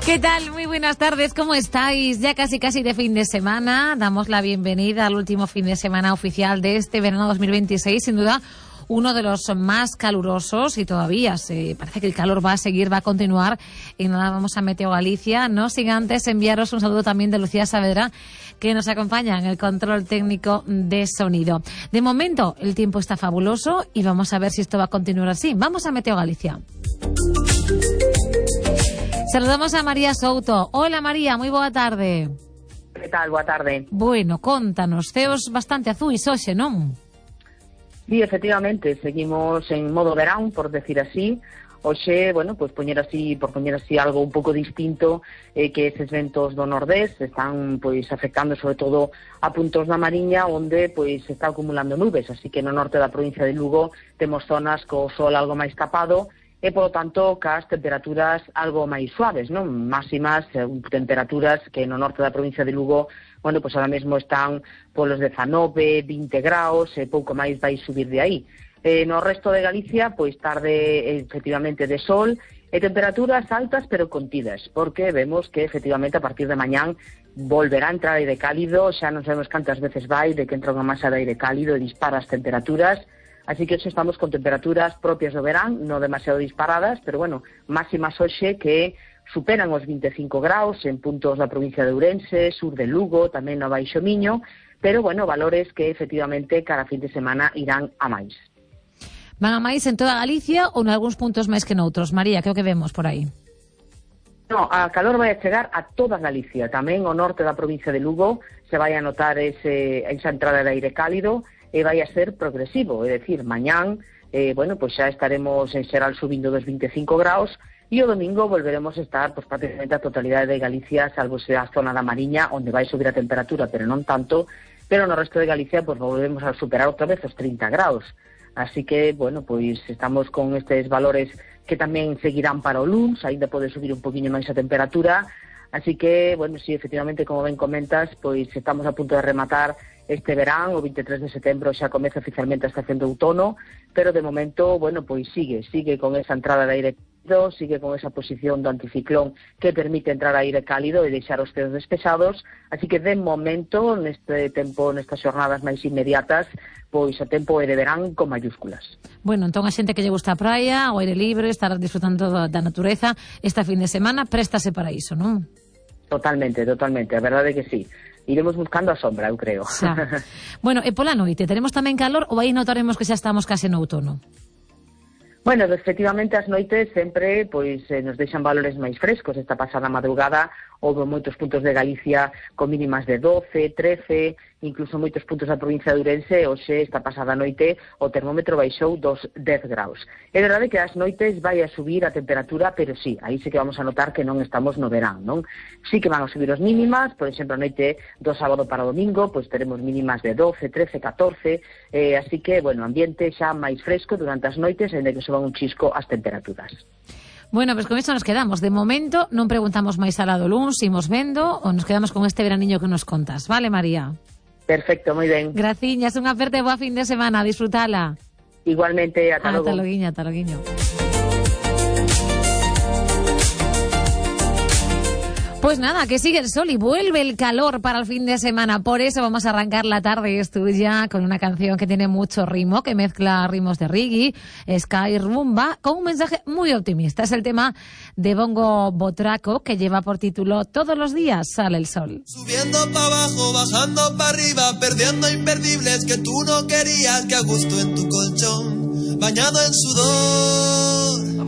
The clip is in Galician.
¿Qué tal? Muy buenas tardes, ¿cómo estáis? Ya casi de fin de semana. Damos la bienvenida al último fin de semana oficial de este verano 2026. Sin duda, uno de los más calurosos y todavía parece que el calor va a seguir, va a continuar. Y nada, vamos a Meteo Galicia. No sin antes enviaros un saludo también de Lucía Saavedra, que nos acompaña en el control técnico de sonido. De momento, el tiempo está fabuloso y vamos a ver si esto va a continuar así. Vamos a Meteo Galicia. Saludamos a María Souto. Hola María, moi boa tarde. Que tal? Boa tarde. Bueno, contanos, ceos bastante azuis hoxe, non? Sí, efectivamente, seguimos en modo verán, por decir así. Hoxe, bueno, pues poñer así algo un pouco distinto, que eses ventos do nordés están pois afectando sobre todo a puntos da Mariña onde pois se está acumulando nubes, así que no norte da provincia de Lugo temos zonas co sol algo máis tapado e, polo tanto, cas temperaturas algo máis suaves, non? Máximas, temperaturas que no norte da provincia de Lugo, bueno, pois ahora mesmo están polos 19, 20 graus, e pouco máis vai subir de aí. No resto de Galicia, pois tarde, efectivamente, de sol, e temperaturas altas pero contidas, porque vemos que, efectivamente, a partir de mañán volverá a entrar aire cálido, xa non sabemos cantas veces vai de que entra unha masa de aire cálido e dispara as temperaturas. Así que hoxe estamos con temperaturas propias do verán, non demasiado disparadas, pero bueno, máximas hoxe que superan os 25 graus en puntos da provincia de Ourense, sur de Lugo, tamén no Baixo Miño, pero bueno, valores que efectivamente cada fin de semana irán a máis. Van a máis en toda Galicia ou en algúns puntos máis que noutros? María, que é o que vemos por aí? No, a calor vai a chegar a toda Galicia, tamén o norte da provincia de Lugo se vai a notar esa entrada de aire cálido, e vai a ser progresivo, é dicir, mañán, bueno, pois xa estaremos en xeral subindo dos 25 graus e o domingo volveremos a estar pois, prácticamente a totalidade de Galicia, salvo a zona da Mariña, onde vai subir a temperatura, pero non tanto, pero no resto de Galicia pois volvemos a superar outra vez os 30 graus. Así que, bueno, pois estamos con estes valores que tamén seguirán para o luns, ainda pode subir un poquinho máis a temperatura, así que, bueno, sí, efectivamente, como ben comentas, pois estamos a punto de rematar este verán, o 23 de setembro xa comeza oficialmente a estación de outono, pero de momento, bueno, pois sigue con esa entrada de aire cálido, sigue con esa posición do anticiclón que permite entrar aire cálido e deixar os ceos despejados, así que de momento, neste tempo, nestas xornadas máis inmediatas, pois o tempo é de verán con mayúsculas. Bueno, entón a xente que lle gusta a praia, o aire libre, estar disfrutando da natureza, esta fin de semana préstase para iso, non? Totalmente, a verdade é que sí. Iremos buscando a sombra, eu creo. Xa. Bueno, e pola noite, teremos tamén calor ou aí notaremos que xa estamos case no outono? Bueno, efectivamente, as noites sempre pois nos deixan valores máis frescos. Esta pasada madrugada houve moitos puntos de Galicia con mínimas de 12, 13, incluso moitos puntos da provincia de Ourense. Hoxe, esta pasada noite, o termómetro baixou dos 10 graus. É verdade que as noites vai a subir a temperatura, pero sí, aí sí que vamos a notar que non estamos no verán, non? Sí que van a subir os mínimas, por exemplo, a noite do sábado para o domingo, pois teremos mínimas de 12, 13, 14, así que, bueno, ambiente xa máis fresco durante as noites, en que suban un chisco as temperaturas. Bueno, pues con isto nos quedamos. De momento non preguntamos máis alá do luns, imos vendo ou nos quedamos con este veraniño que nos contas. Vale, María? Perfecto, moi ben. Graciñas, unha aperta e boa fin de semana, disfrutala. Igualmente, ata logo. Ata loguiño. Pues nada, que sigue el sol y vuelve el calor para el fin de semana. Por eso vamos a arrancar la tarde es tuya con una canción que tiene mucho ritmo, que mezcla ritmos de reggae, ska y rumba, con un mensaje muy optimista. Es el tema de Bongo Botraco, que lleva por título Todos los días sale el sol. Subiendo para abajo, bajando para arriba, perdiendo imperdibles que tú no querías, que a gusto en tu colchón, bañado en sudor.